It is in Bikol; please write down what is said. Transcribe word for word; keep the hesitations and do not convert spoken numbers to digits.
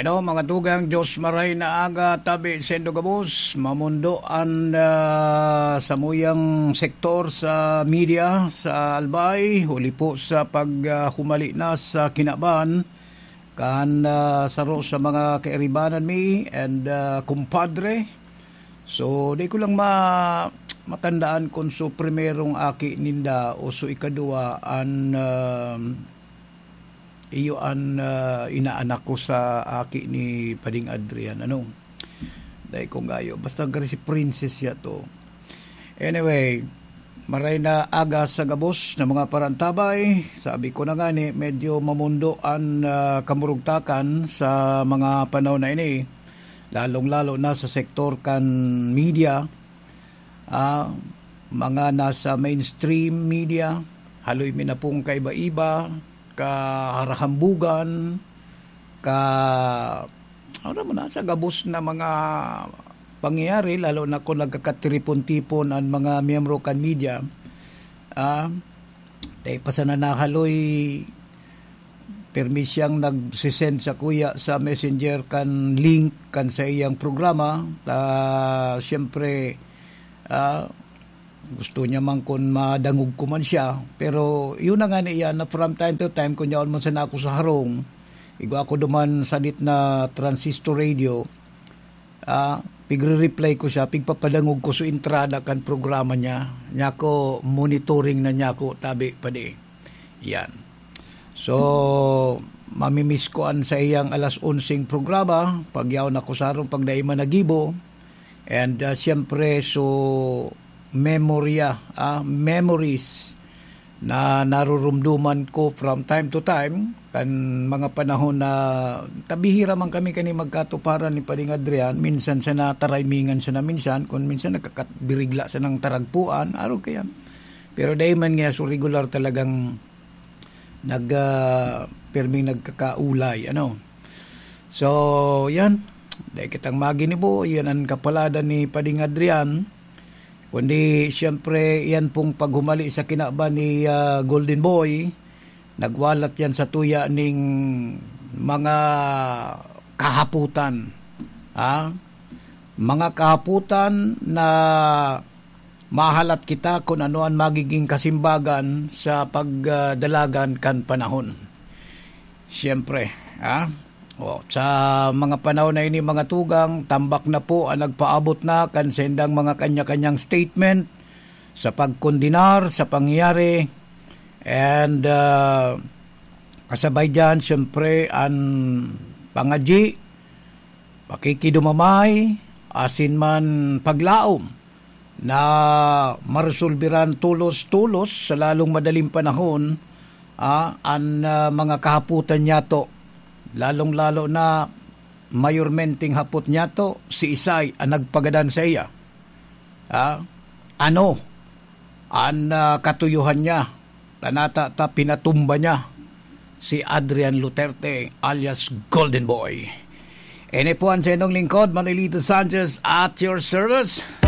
Hello, mga tugang, Diyos maray na aga, tabi sendo gabos, mamundo an ah, samuyang sektor sa media sa Albay, huli po sa paghumali na sa kinaban kan ah, saro sa mga kairibanan mi and ah, kumpadre. So, di ko lang ma matandaan kung so primerong aki ninda o so ikaduwa an ah, iyo an ah, inaanak ko sa aki ni Pading Adrian. Ano? Dai ko ngayo. Basta gari si Princess ya to. Anyway, maray na aga sa gabos na mga parantabay. Sabi ko na nga ni, medyo mamundo an ah, kamurugtakan sa mga panahon na ini. Lalong-lalo na sa sektor kan media. Ah, mga nasa mainstream media, haloy mi na pong kaiba-iba, kaharahambugan, ka, ano mo na, sa gabos na mga pangyayari, lalo na kung nagkakatiripon-tipon ang mga miyembro kan media. Ah, dahil pa sana nahaloy, pirmi siyang nagsisend sa kuya sa messenger kan link kan sa iyang programa. Ta, siyempre, ah, gusto niya man kun madangog ko man siya. Pero yun na nga niya, na from time to time, kung yaon man sana ako sa harong, igwa ako duman sadit na transistor radio, ah, pigre-reply ko siya, pigpapadangog ko sa entrada kan programa niya. Niya ko, monitoring na niya ako, tabi pa di. Yan. So, mamimiss ko an sa iyang alas onseng programa, pag yaon ako sa harong, pag dai man nagibo. And ah, siyempre, so, memorya, ah, memories na narurumduman ko from time to time, kan mga panahon na tabihira man kami kani magkatuparan ni Pading Adrian, minsan sa natarimingan siya na minsan, kung minsan nagkakabirigla sa nang taragpuan, araw kaya. Pero dai man nga so regular talagang nag ah, pirming nagkakaulay, ano. So, yan. Dai kitang maginibo, yan ang kapaladan ni Pading Adrian. Kundi, siyempre, yan pong paghumali sa kinaban ni ah, Golden Boy, nagwalat yan sa tuya ning mga kahaputan. Ha? Mga kahaputan na mahalat kita kung ano ang magiging kasimbagan sa pagdalagan kan panahon. Siyempre, ha? O, sa mga panahon na ini, mga tugang, tambak na po ang nagpaabot na kan sendang mga kanya-kanyang statement sa pagkondenar sa pangyayari. And ah, kasabay dyan, siyempre, ang pangadyi, pakikidumamay, asin man paglaom na maresolberan tolos-tolos sa lalong madaling panahon, ah, an ah, mga kahapotan niyato, lalong-lalo na mayormenteng hapot niyato, si isay an nagpagadan saiya. Ah, ano an ah, katuyohan niya? Tanata ta pinatumba niya si Adrian Luterte alias Golden Boy. Ini po ang sa inyong lingkod, Manilito Sanchez, at your service.